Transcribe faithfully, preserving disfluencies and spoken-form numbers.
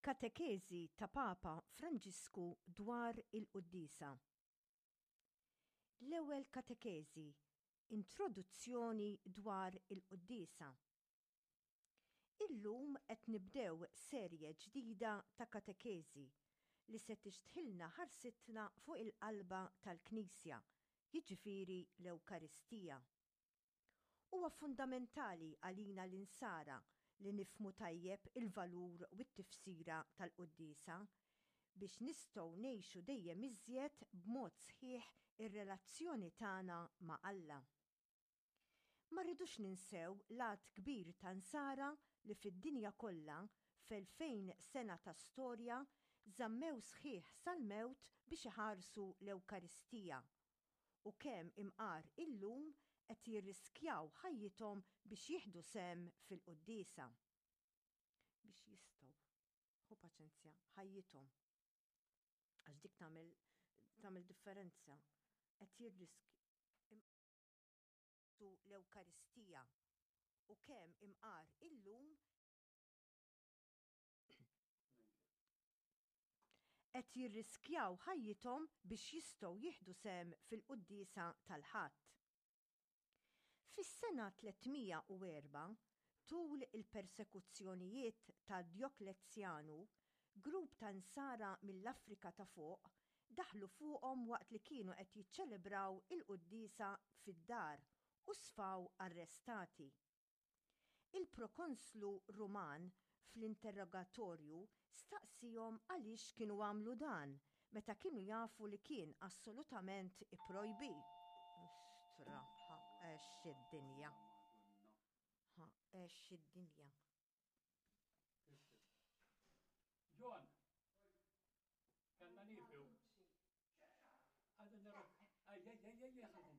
Katekeżi ta' Papa Franġisku dwar il-Quddiesa. L-ewwel katekeżi, Introduzzjoni dwar il-Quddiesa. Illum qed nibdew serje ġdida ta' katekeżi li se tixtħilna ħarsitna fuq il-qalba tal-Knisja, jiġifieri l-Ewkaristija. Huwa fundamentali għalina l-Insara li nifhmu tajjeb il-valur u t-tifsira tal-Quddiesa biex nistgħu ngħixu dejjem iżjed b'mod sħiħ ir-relazzjoni tagħna ma' Alla. Ma rridux ninsew l-għadd kbir ta' Nsara li fid-dinja kollha f'elfejn sena ta' storja żammew sħiħ sal-mewt biex iħarsu l-Ewkaristija u kemm imqar illum qed jirriskjaw ħajjithom biex jieħdu sehem fil-quddiesa. Biex jistgħu, ħu paċenzja, ħajjithom. Għax dik tagħmel tagħmel differenza. Qed jirrisk l-Ewkaristija u kemm imqar illum qed jirriskjaw ħajjithom biex jistgħu jieħdu sehem fil-quddiesa tal-Ħadd. Fis-sena tliet mija u erbgħa, tul il-persekuzzjonijiet ta' Djoklezjanu, grupp ta' Nsara mill-Afrika ta' Fuq daħlu fuqhom waqt li kienu qed jiċċelebraw il-quddiesa fid-dar u sfaw arrestati. Il-prokonslu Ruman fl-interrogatorju staqsihom għaliex kienu għamlu dan meta kienu jafu li kien assolutament ipprojbit. Ostra, ħa għex id-dinja. Ħa għex id-dinja. John, kellna nieqfu. Għadna naraw. Ej, ej, ej, ej,